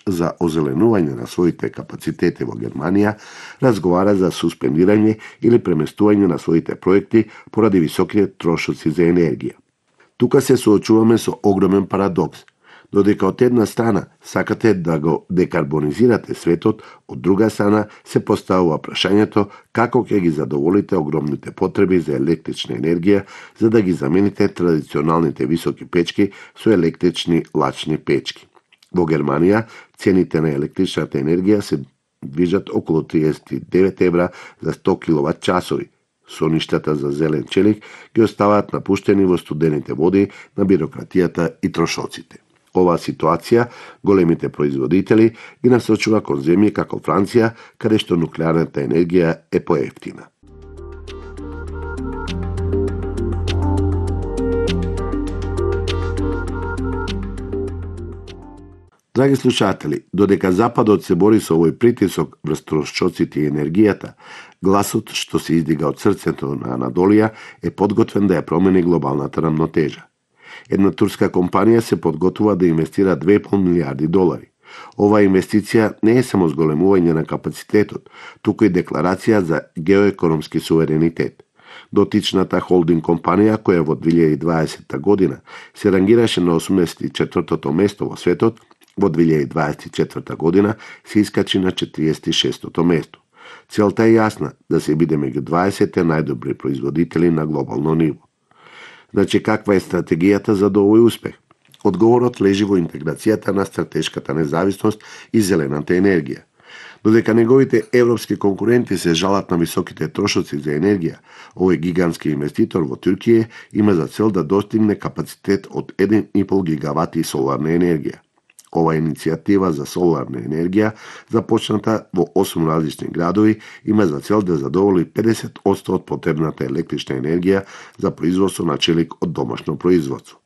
за озеленување на своите капацитети во Германија разговара за суспендирање или преместување на своите проекти поради високите трошоци за енергија. Тука се соочуваме со огромен парадокс. Додека од една страна сакате да го декарбонизирате светот, од друга страна се поставува прашањето како ќе ги задоволите огромните потреби за електрична енергија за да ги замените традиционалните високи печки со електрични лачни печки. Во Германија цените на електричната енергија се движат околу 39 евра за 100 киловат часови. Соништата за зелен челик ги оставаат напуштени во студените води на бирократијата и трошоците. Оваа ситуација големите производители ги насочува кон земји како Франција, каде што нуклеарната енергија е поевтина. Драги слушатели, додека Западот се бори со овој притисок врз трошоците и енергијата, гласот што се издига од срцето на Анадолија е подготвен да ја промени глобалната рамнотежа. Една турска компанија се подготвува да инвестира 2,5 милиарди долари. Оваа инвестиција не е само зголемување на капацитетот, туку и декларација за геоекономски суверенитет. Дотичната холдинг компанија, која во 2020 година се рангираше на 84-тото место во светот, во 2024 година се искачи на 46-тото место. Целта е јасна, да се биде меѓу 20 најдобри производители на глобално ниво. Значи, каква е стратегијата за овој успех? Одговорот лежи во интеграцијата на стратешката независност и зелената енергија. Додека неговите европски конкуренти се жалат на високите трошоци за енергија, овој гигантски инвеститор во Туркија има за цел да достигне капацитет од 1,5 гигавати соларна енергија. Ова иницијатива за соларна енергија, започната во 8 различни градови, има за цел да задоволи 50% од потребната електрична енергија за производство на челик од домашно производство.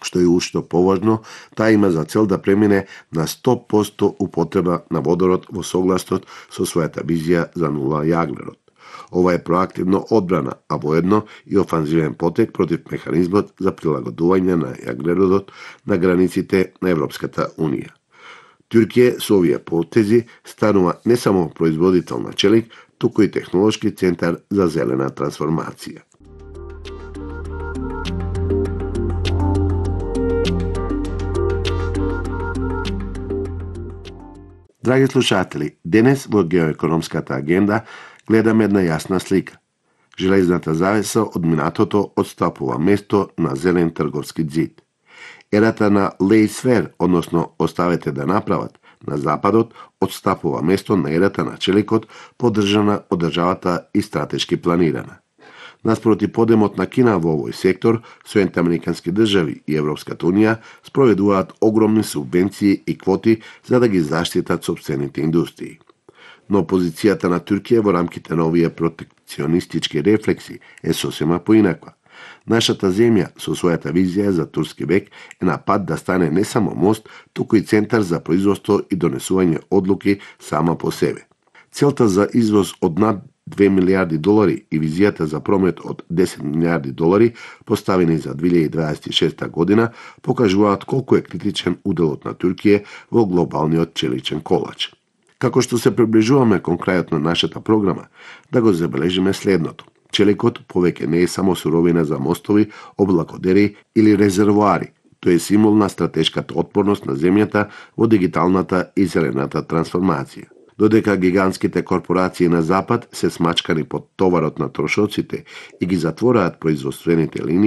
Што е уште поважно, таа има за цел да премине на 100% употреба на водород во согласност со својата визија за нула јаглерод. Ова е проактивно одбрана, а воедно и офанзивен потек против механизмот за прилагодување на јаглеродот на границите на Европската Унија. Туркија со овие потези станува не само производител на челик, туку и технолошки центар за зелена трансформација. Драги слушатели, денес во геоекономската агенда гледаме една јасна слика. Железната завеса од минатото отстапува место на зелен трговски ѕид. Ерата на лејсфер, односно оставете да направат, на Западот отстапува место на ерата на челикот, поддржана од државата и стратешки планирана. Наспроти подемот на Кина во овој сектор, Соединените американски држави и Европската Унија спроведуваат огромни субвенции и квоти за да ги заштитат сопствените индустрии. Но позицијата на Туркија во рамките на овие протекционистички рефлекси е сосема поинаква. Нашата земја со својата визија за турски век е на пат да стане не само мост, туку и центар за производство и донесување одлуки сама по себе. Целта за извоз од над 2 милиарди долари и визијата за промет од 10 милиарди долари поставени за 2026 година покажуваат колку е критичен уделот на Туркија во глобалниот челичен колач. Како што се приближуваме кон крајот на нашата програма, да го забележиме следното. Челикот повеќе не е само суровина за мостови, облакодери или резервоари. Тој е символ на стратешката отпорност на земјата во дигиталната и зелената трансформација. Додека гигантските корпорации на Запад се смачкани под товарот на трошоците и ги затвораат производствените линии,